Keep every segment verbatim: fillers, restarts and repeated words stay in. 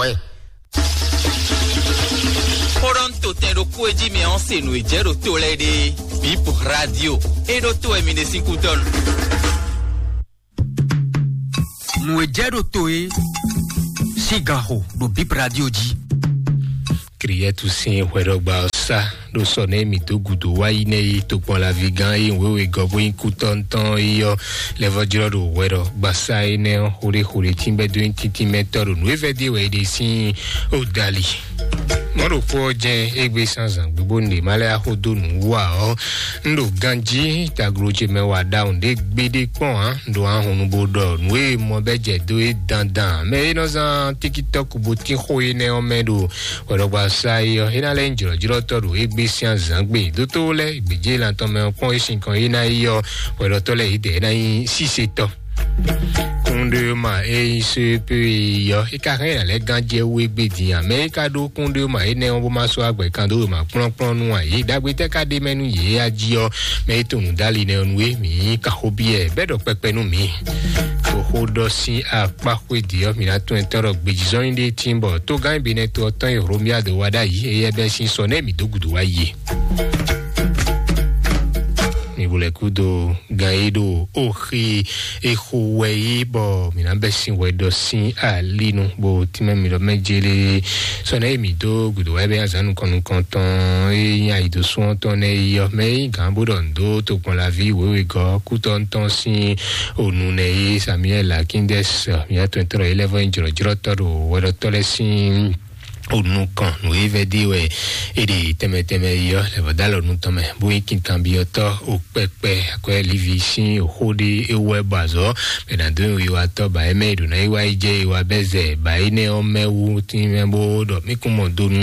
Kpɔ́n ɛ. Kpɔ́ɖɔn to tɛn ɖokpó e jí mi ɔ́ se nǔ e jɛ ɖo to lɛ́ɛ ɖe. Bip radio. E ɖo to wɛ mi ɖe sín kú dɔn. Nǔ e jɛ ɖo to e sín gan xo ɖo Bip radio jí. Kriyɛtu sín hwɛɖɔgba ɔ́ sá ɖo sɔ nɛ mǐ dó gǔdo wá yi nɛ yi tokpɔnlaví gán e wěwe gɔ́ bó nyí kútɔ́ntɔn yi ɔ́ lɛ́ vɔ́ jlɔ́ ɖo hwɛɖɔgbasá énɛ́ ɔ́ xóɖéxóɖé tínbɛ́ dó nyí tíntín mɛ tɔ́ ɖo nǔ e vɛ́ dé wɛ é ɖe sín odali. Mɔ̌ ɖokpó ɔ́ jɛ́n égbé sán zǎn gbígbó nǔɖé má lɛ́ axó dó nǔ wú ǎ ɔ́, un ɖo ganjí taglo ce mɛ wa ɖawun ɖé gbéɖé kpɔ́n ǎ. Un ɖo ahɔnnu bó ɖɔ nǔ e mɔ bɛ́ jɛ dó é dandan. Mɛ e nɔ zán tikitɔ́ku bó tín xó énɛ́ ɔ́ mɛ ɖo hwɛɖɔgbasá é ɔ́, é ná lɛ́ nyí jlɔ̌jlɔ́tɔ́ ɖo égbé sín azǎngbe. Dótó lɛ́ɛ gbějé lan tɔn mɛ ɔ́ kpɔ́n é sinkɔn é ná yi ɔ́, hwɛɖɔtɔ́ lɛ́ɛ yědɛɛ é ná nyí sísetɔ́. Kúnɖéma e nyí sépéyi ɔ́, é ka hɛn ná lɛ́ gán jɛ wú égbé din ǎ. Mɛ e ka ɖó kúnɖéma énɛ́ ɔ́ bó má sɔ́ agbɛ̌ kan dó wěma kplɔ́nkplɔ́n nú ǎ, yě ɖagbe tɛ́ ka ɖ'é mɛ nú yě a jí ɔ́, mɛ e tunwun dó ali nɛ́ ɔ́ nú é, mǐ ka xó byɔ́ ɛ, bɔ é ɖɔ kpɛkpɛ nú mǐ. Xoxo ɖɔ sín akpá xwé dě ɔ́, mǐ ná tunwun ɛ tɔ́ ɖɔ gbejizɔ́nyi ɖé tín bɔ tógán e Benɛto ɔ́ tɔn e Hlomia dó wá ɖ'ayǐ, éyɛ́ bɛ́ sín sɔ nɛ́ mǐ dó gǔdo wá yi e. Mi bo lɛ kúdo gan yi ɖo oxi exo wɛ yi bɔ mi na bɛ sin wɛ dɔ sin alinu bo tìmɛ mi dɔ mɛ jele sɔnɛ yi mi do gudo wɛ bɛ azan nukɔn nukɔn tɔn e nyi ayi do sɔn tɔn nɛ yi yɔ mɛ yi gan bo dɔ ndo to kpɔn la vi wewe gɔ kutɔ ntɔn sin onu nɛ yi Samuel Akindesi mi atɔ tɔrɔ yi lɛ vɔ nyi jɔrɔjɔrɔ tɔ do wɛ dɔ tɔ lɛ sin onu kan nǔ e vɛ́ dé wɛ é ɖe tɛmɛ tɛmɛ yi ɔ́ lɛ vɔ dó alɔ nu tɔn mɛ bó nyí kinkanbyɔ́tɔ́ o kpɛkpɛ akwɛ́ livi sín xó ɖé é wɛ bɔ azɔ̌ mɛ nǎ dó nyi wiwatɔ́ ba é mɛ e ɖo ná yi wá yi jɛ yi wá bɛ́ zɛ ba énɛ́ ɔ́ mɛ wú tínmɛ bó ɖɔ mí kún mɔ do nú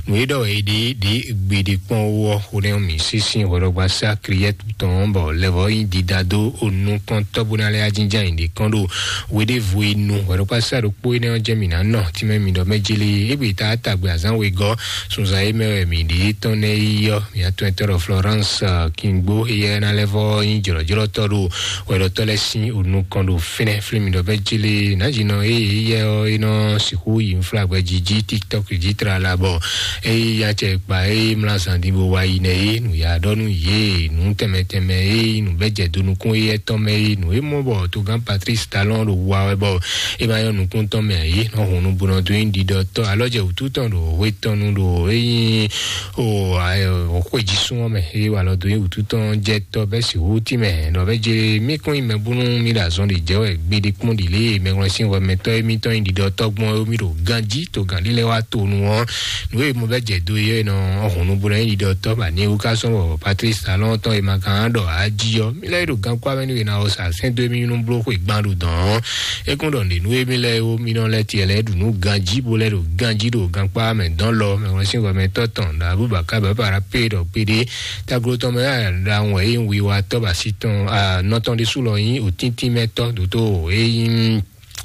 nǔ e ɖɔ wɛ é ɖe ɖě gbeɖé kpɔ́n wú ɔ́ xó nɛ́ mǐ sín sín hwɛɖɔgbasá kriyɛ́tu tɔn bɔ lɛ vɔ nyí dida dó o nukɔntɔ́ bó ná lɛ́ ajínjá nyi ɖě kɔn ɖo hweɖěvo e nu hwɛɖɔkpásá ɖokpó énɛ́ ɔ́ jɛ mǐ ná nɔ tínmɛ mǐ ɖɔ mɛ jlé égbé ta tagbe azǎn wegɔ́ sunzan e mɛ wɛ mǐ ɖe tɔn nɛ́ yi ɔ́ mǐ atɔn etɔ́ ɖɔ Florence Kingbo éyɛ́ ná lɛ́ vɔ nyí jlɔ̌jlɔ́tɔ́ ɖo hwɛɖɔtɔ́ lɛ́ɛ sín o nukɔn ɖo fínɛ́ flí mǐ ɖɔ mɛ jlé nǎjínɔ e éyɛ́ ɔ́ é nɔ sixú yi nflágbɛ́ jí jí TikTok jí tlala bɔ eye ya cɛ kpa eye mlá zan din bó wá yi nɛ ye nǔ ya ɖɔ nú yě nǔ tɛnmɛ tɛnmɛ eye nǔ bɛ jɛ do nukún eye tɔn mɛ ye nǔ e mɔ bɔ togán Patrice Talon ɖo wa wɛ bɔ e ma yɔ nukún tɔn mɛ ye nɔ hun nu bonɔ do yin ɖiɖɔ tɔ alɔ jɛ wútu tɔn ɖo hwe tɔn nu ɖo eyin o xwe jí sún mɛ eye wà lɔ do yin wútu tɔn jɛ tɔ bɛ si wu ti mɛ nɔ bɛ jɛ mi kún yi mɛ búnú mi ɖo azɔn ɖe jɛ wɛ gbeɖe kpɔn ɖi lé mɛ ŋlɔ sin wɛ mɛ tɔ emi tɔn yin ɖiɖɔ tɔ gbɔn mi ɖo ganji to gan ɖi lɛ wa to nu ɔ nu e mo bɛ jɛ do ye nɔ ɔhun nu bo nɔ yi ɖɔ tɔ ba ni ewu ka sɔn bɔ Patrice Talon tɔn e ma kan ɖɔ aji ɔ mi lɛ ɖo gan kó amɛ ni we na o sa sɛn do mi nu blo xwe gban ɖo dɔn ɔ e kún ɖɔ ne nu e mi lɛ wo mi nɔ lɛ tiɛ lɛ ɖu nu ganji bo lɛ ɖo ganji ɖo gan kpá mɛ dɔn lɔ mɛ wɔ sin wɔ mɛ tɔ tɔn ɖo abu ba ka bɛ para pe ɖɔ pe ɖe taglo tɔn mɛ ɖa wɔ e wi wa tɔ ba si tɔn a nɔ tɔn ɖe su lɔ yin o tintin mɛ tɔ doto e yin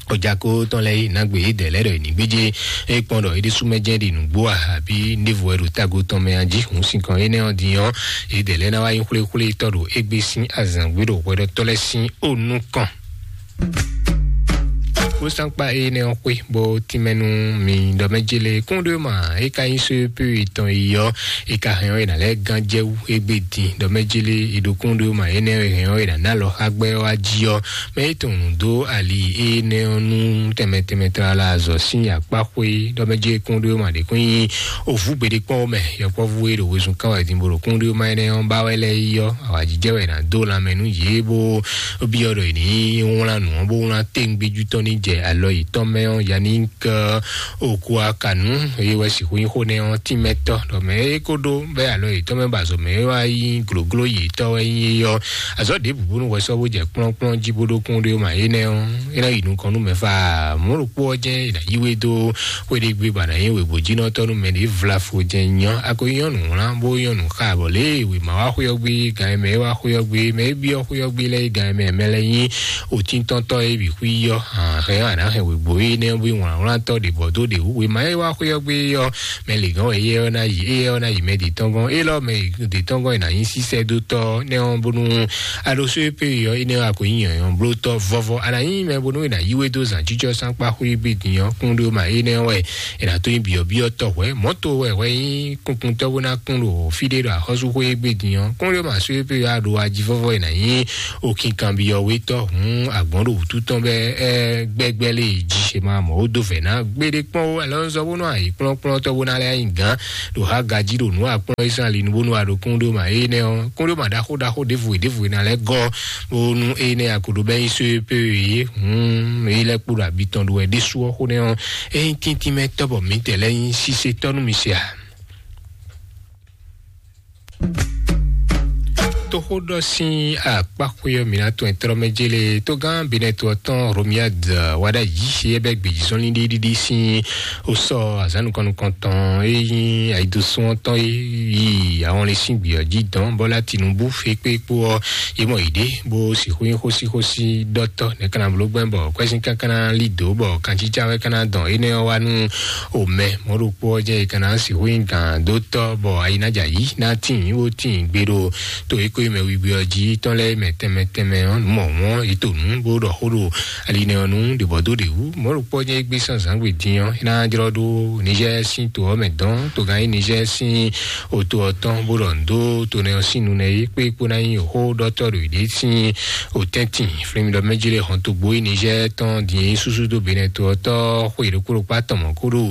ojako tɔn lɛ yi nagbe yi dɛ lɛ ɖɔ yi ni gbedze e kpɔn ɖɔ yi ɖi sumɛ jɛ ɖi nugbo a abi ndevo wɛ ɖo tago tɔn mɛ a ji hun sin kɔn yi nɛ ɔ di ɔ yi dɛ lɛ na wa yi xwle xwle tɔ ɖo egbe sin azan gbe ɖo hwɛ ɖɔ tɔ lɛ sin o nu kɔn. Kósankpa e nɛ ɔ xwe bɔ tìmɛnu mi ɖɔ mɛ jele kún ɖo ma e ka nyi so pe tɔn yi ɔ e ka hɛn ɔ yi na lɛ gan jɛ wu egbe din ɖɔ mɛ jele e ɖo kún ɖo ma e nɛ hɛn ɔ yi na na lɔ xagbɛ ɔ aji ɔ mɛ e tɔn dó ali énɛ́ ɔ́ nú tɛnmɛ tɛnmɛ tlala azɔ̌ sín akpáxwé ɖɔ mɛ jɛ kún ɖo ma ɖě kún nyi òvú gbeɖé kpɔ́n mɛ yɔkpɔ́vú e ɖo wezun kán wɛ din bo ɖo kún ɖo ma énɛ́ ɔ́ ba wɛ lɛ́ɛ yi ɔ́ awǎjijɛ wɛ ná dó lanmɛ nú yě bó byɔ́ ɖɔ è ní wlán nǔ ɔ́ bó wlán téŋgbéjú tɔn ní jɛ alɔ yětɔn mɛ ɔ́ Yannick Okuakanu eye wɛ sixú nyí xó nɛ ɔ́ tínmɛtɔ́ ɖɔ mɛ é kó ɖó bɛ́ alɔ yětɔn mɛ ba azɔ̌ mɛ é wá nyí glǒgló yětɔn wɛ nyí é ɔ́ azɔ̌ ɖěbǔ bónú hwɛ sɔ́ bó jɛ kplɔ́nkplɔ́n jí bó ɖó kún ɖé ma énɛ́ ɔ́ é ná yi nukɔn nú mɛ fá mɔ̌ ɖokpó ɔ́ jɛ́n è nǎ yí we dó xwé ɖé gbé bɔ a nǎ nyí wěgbójínɔtɔ́ nú mɛ ɖě vlafo jɛ́n nyɔ́ a ko nyɔ́ nǔ wlán bó nyɔ́ nǔ xa bɔ lě e wěma wá xwé ɔ́ gbé gan e mɛ é wá xwé ɔ́ gbé mɛ é byɔ́ xwé ɔ́ gbé lɛ́ɛ gan e mɛ mɛ lɛ́ɛ nyí òtíntɔ́ntɔ́ é bǐ xwí yɔ́ hǎn Ɛ ɔ́, a nǎ hɛn wěgbó énɛ́ ɔ́ bó nyí wlǎnwlán tɔ́ ɖě bɔ dó ɖě wú. Wěma e wá xwé ɔ́ gbé ɔ́, mɛ lǐgɔ́n wɛ éyɛ́ ɔ́ ná yi, éyɛ́ ɔ́ ná yi mɛ ɖě tɔ́n gɔ́n. Élɔ́ mɛ ɖě tɔ́n gɔ́n e nǎ nyí sísɛ́ dó tɔ́ nɛ́ ɔ́, bónú a ɖo só e pé ɔ́, énɛ́ ɔ́, a ko nyí nyɔ̌nyɔ́ bló tɔ́ vɔ́vɔ́. A nǎ nyí mɛ bónú è nǎ yí we dó zǎn jijɔ sánkpá xwé gbé din ɔ́, kún ɖó ma énɛ́ ɔ́ wɛ è nǎ tó nyí byɔ̌byɔ́ tɔ́ hwɛ̌. Mɔ̌ to wɛ hwɛ nyí kunkuntɔ́ bó ná kún ɖo fí ɖé ɖo axɔ́súxwé gbé din ɔ́, kún ɖó ma só e pé ɔ́, a ɖo ajivɔ́vɔ́ e nǎ nyí okinkanbyɔ́wétɔ́ hǔn agbɔ̌n ɖo wǔtu tɔn bɛ́ ɛ gbɛgbɛ́ lé yi jí. È ma mɔ wó dó vɛ̌ ná gbéɖé kpɔ́n ó, alɔ ń zɔ bónú ayǐ kplɔ́nkplɔ́ntɔ́ bó ná lɛ́ nyi gǎn ɖo há gají ɖo nǔ akplɔ́n Ísírɛ́li nu bónú a ɖo kún ɖó ma énɛ́ ɔ́, kún ɖó ma ɖaxó ɖaxó ɖěvo e ɖěvo e ná lɛ́ gɔ́ bónú énɛ́ a ko ɖo bɛ́ nyí só e pé e hǔn é lɛ́ kpo ɖo abi tɔn ɖo wɛ ɖésú ɔ́ xó nɛ́ ɔ́, é nyí tíntín mɛ tɔ́ bɔ mǐtɛɛ lɛ́ nyí sísetɔ́ nú mi se a? Toxóɖɔ sín akpáxwé ɔ́, mǐ ná tɔn ɛ tlɔ́ mɛ jélé tógán Benɛto ɔ́ tɔn Romiade wá ɖ'ayǐ é bɛ́ gbějízɔ́nlin ɖíɖíɖí sín ó sɔ́ azǎn nukɔn nukɔntɔn e nyí ayidosún ɔ́ tɔn e yi ahɔnlin sín gbǐ ɔ́ jí dɔn bɔ́ lá Tinubu fé kpé kpó ɔ́, é mɔ yě ɖě bó sixú nyí xósíxósí ɖɔtɔ́ nɛ̌ ka ná bló gbɛ́ bɔ kwɛ́sín káká ná lí dǒ bɔ kancícá wɛ ka ná dɔn énɛ́ ɔ́ wá nú omɛ mɔ̌ ɖokpó ɔ́ jɛ́n è ka ná sixú nyí gǎn dó tɔ́ bɔ ayi ná jɛ ayǐ ná tíin bó tíin gbe ɖo to e ko nyí mɛ wiwi ɔ́ jí tɔn lɛ́ɛ mɛ tɛnmɛ tɛnmɛ ɔ́ nǔ mɔ̌hun ɔ́, yě to nǔ bó ɖɔ xó ɖo ali nɛ ɔ́ nú ɖě bɔ dó ɖě wú. Mɔ̌ ɖokpó ɔ́ jɛ́n é gbé sín azǎngbe din ɔ́, é ná jlɔ́ ɖó Nizɛ́ɛ sín to ɔ́ mɛ dɔn, togán nyí Nizɛ́ɛ sín oto ɔ́ tɔn bó ɖɔ nǔ dó to nɛ́ ɔ́ sín nu nɛ́ é kpé kpó ná nyí xó ɖɔtɔ́ ɖo yěɖée sín otɛ́ntin. Flɛ́mi ɖɔ mɛjí lɛ́ɛ hɔn togbo e Nizɛ́ɛ tɔn din e súsú dó Benɛto ɔ́ tɔ́ xwe ɖokpó ɖokpó atɔn mɔ̌ kó ɖo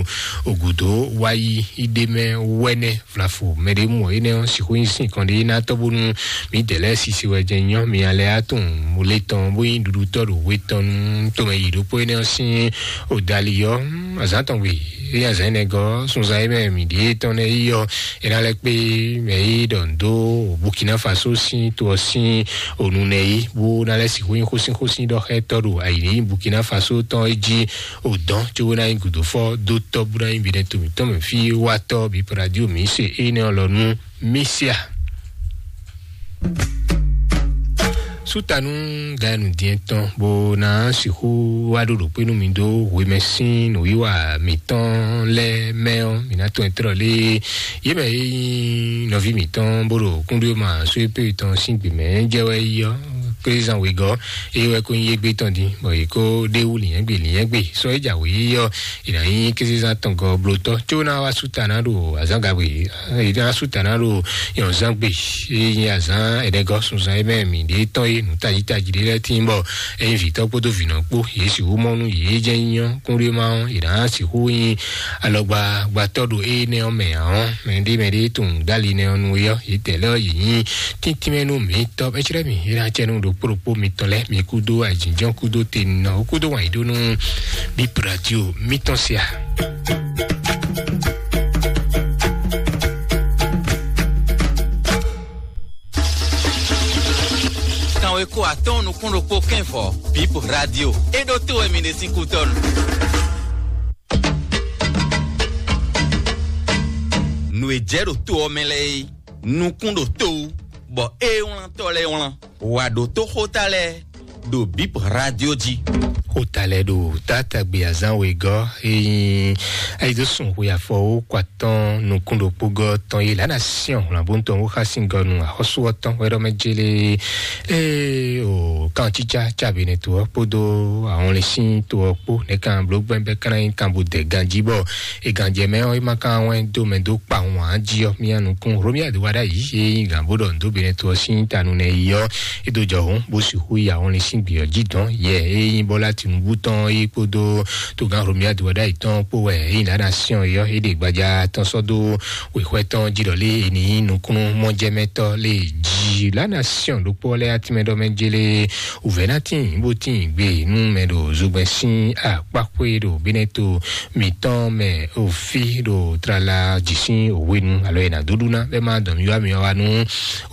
ògǔdó wá yí yi ɖ'é mɛ wɛ́nɛ́ vlafo mɛ ɖé mɔ énɛ́ ɔ́ sixú nyí sín kɔn ɖé ná tɔ́ bónú mǐdɛɛ lɛ́ɛ sisi wɛ jɛ nyɔ́ mi alɛ á tunwun le tɔn bó nyí ɖuɖutɔ́ ɖo we tɔn nú tomɛ yi ɖokpó énɛ́ ɔ́ sín odali ɔ́ azǎn tɔn gbe. Eye azǎn énɛ́ gɔ́ sunzan e mɛ mǐ ɖíe tɔn nɛ́ yi ɔ́, é ná lɛ́ kpé mɛ e ɖɔ nǔ dó Burkina Faso sín to ɔ́ sín onú nɛ́ yi bó ná lɛ́ sixú nyí xósínxósín ɖɔ xá ɛ tɔ́ ɖo ayǐ ní Burkina Faso tɔn é jí o dɔn cóbó ná nyí gǔdófɔ dó tɔ́ bó ná nyí bǐ nɛ́ to mǐtɔn mɛ fí wá tɔ́ bǐ pɛ́ radio mǐ se énɛ́ ɔ́ lɔ nú Misia. Sútanu gayanu diɛn tɔn bó ná sixú wá ɖo ɖo kpé nú mi dó hwemɛ sín nǔwiwa mǐtɔn lɛ́ɛ mɛ ɔ́, mǐ ná tɔn ɛ tlɔ lé yě mɛ e nyí nɔví mǐtɔn bó ɖo kúnɖó ma só e pé tɔn sín gbě mɛ jɛ wɛ yi ɔ́, kézan wěgɔ́ eye wɛ kó nyí égbé tɔn dín bɔ yě kó ɖé wú lǐnyɛ́gbè lǐnyɛ́gbè sɔ́ é jǎwe yi ɔ́, è nǎ nyí kézezán tɔn gɔ́ blótɔ́ có ná wá sú ta ná ɖo azǎn gagbe, è ná sú ta ná ɖo nyɔ̌zán gbe. Eye nyi azǎn ɛnɛgɔ́ sunzan e mɛ mǐ ɖe tɔn e nǔ tají tají ɖé lɛ́ɛ tín bɔ é nyí vǐtɔ́ kpódó vǐnɔ kpó yě sixú mɔ nú yě jɛ nyɔ kúnɖéma ɔ́, è nǎ sixú nyí alɔgbagbatɔ́ ɖo énɛ́ ɔ́ mɛ ǎ ɔ́, mɛɖé mɛɖé tunwun dali nɛ ɔ́ nu é ɔ́, yě tɛ̌ lɛ́ ɔ́ yě nyí tíntímɛ nú mǐ tɔ́. É clɛ́ mì é ná cɛ nú ɖokpó ɖokpó mitɔn lɛ́ɛ, mi kúdó ayǐjínjɔ́n kúdó tenɔ kúdó wǎn yí ɖó nú Bip Radio mitɔn sia. Kanwe ko atɔ́ɔ́n nukún ɖokpó kɛ́nvɔ Bip Radio. É ɖó tó wɛ mi ɖe sín kútɔ́nu. Nǔ e jɛ ɖo to ɔ́ mɛ lɛ́ɛ é, nukún ɖo to wú, bɔ é wlántɔ́ lɛ́ɛ wlán. Wǎ ɖótó xóta lɛ́ɛ ɖo Bip Radio jí. Xóta lɛ́ɛ ɖo tátagbe azán wegɔ́ e nyí ayidosùn xwe afɔwó kɔ atɔ́ɔ́n nukún ɖokpó gɔ́ tɔn yi lǎ ná syɔ́n hwlǎnbóntɔn wó xá sín gɔ́ nu axɔ́sú ɔ́ tɔn wɛ ɖɔ mɛ jélé. Ée o kan tsítsá tsa benɛ to ɔ́ kpódó ahɔnlínsín to ɔ́ kpó nɛ̌ kan bló gbɛ́ bɛ́ ka ná nyí kan bó dɛ ganjí bɔ e ganjɛ mɛ ɔ́, é ma ka wɛn dó mɛ dó kpa wǎn jí ɔ́, mía nukún Romiade wá ɖ'ayǐ e nyí gǎn bó ɖɔ nǔ dó benɛ to ɔ́ sín ta nu nɛ yi ɔ́, é dó jɔ hǔn bó sixú yi ahɔnlínsín gbě ɔ́ jí dɔn yɛ e nyí Bɔ́lá Tinubu tɔn é kpódó togán Romiade wá ɖ'ayǐ tɔn kpó wɛ é nyí lǎ ná syɔ́n é ɔ́, é ɖe gbaja tɔn sɔ́ dó wěxwɛ́ tɔn jí ɖɔ lé è ní nyí nukúnnú mɔjɛmɛtɔ́ lé jí. La nation ɖokpó lɛ́ɛ atínmɛ ɖɔ mɛ jélé wǔvɛ́ ná tíin bó tíin gbé nú mɛ ɖo zogbɛ́n sín akpáxwé ɖo Benɛto mǐtɔn mɛ òfí ɖo tlala jǐ sín òwe nu alo è nǎ dó ɖu ná bɛ́ má dɔn mì wá mi wá nú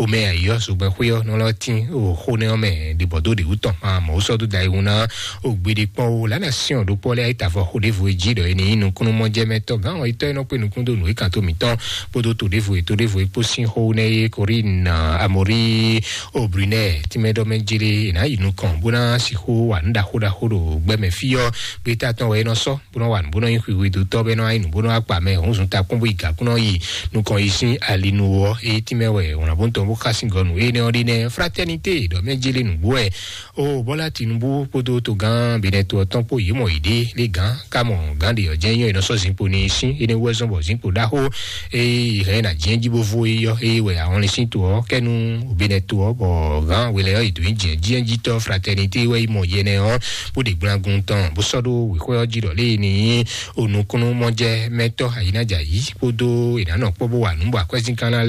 omɛ ayǐ ɔ́ zogbɛ́n xwé ɔ́ nɔ lɔ tín o xó nɛ ɔ́ mɛ ɖibɔ dó ɖě wú tɔn má mɔ̌ sɔ́ dó da yi hun ná o Gbeɖe kpɔn o lana siɔn ɖokpɔ lɛ ayita vɔ xo ɖevo e jí ɖɔ e ni nukúnnú mɔjɛmɛtɔ gán ɔ itɔ e nɔ kpe nukún do nǔ e kan to mǐtɔn kpódó to ɖevo e to ɖevo e kpó sín xó nɛ ye Corinne Amori Obrunɛ timɛ ɖɔ mɛ jele e ná yi nukɔn bó ná sixú wa nǔ ɖaxó ɖaxó ɖo gbɛmɛ fí ɔ gbeta tɔn wɛ e nɔ sɔ bó nɔ wa nǔ bó nɔ nyi xwixwedotɔ bɛ nɔ ayi nǔ bó nɔ akpa mɛ hɔnzun takún bó yi gǎkún nɔ yi nukɔn yi sín alinu ɔ e timɛ wɛ wlǎnbó tɔn bó xa sín gɔnu e nɛ ɔ ɖi nɛ fraternité ɖɔ mɛ jele nǔgbó wɛ o Bɔla Tinubu kpódó togán Benɛto ɔtɔn kpó yě mɔ yě ɖe lé gán ká mɔ gán ɖe ɔjɛ nyɔ ìnɔ sɔ zinkpo ní sín énɛ́ wú ɛzɔn bɔ zinkpo ɖaxó eye hɛn na jɛn jí bó vo eyɔ eye wɛ ahɔnlin sín to ɔ kɛnu Benɛto ɔ bɔ gán wele ɔ ìdó jɛn jɛn jí tɔ fraternité wɛ yi mɔ yɛnɛ ɔ bó ɖe gblangun tɔn bó sɔ ɖó wíxɔ ɔ jí ɖɔ lé ní onukúnnú mɔjɛ mɛtɔ ayinaja yí kpódó ìdánɔ kpó bó wà nú bɔ akwɛzín kan ná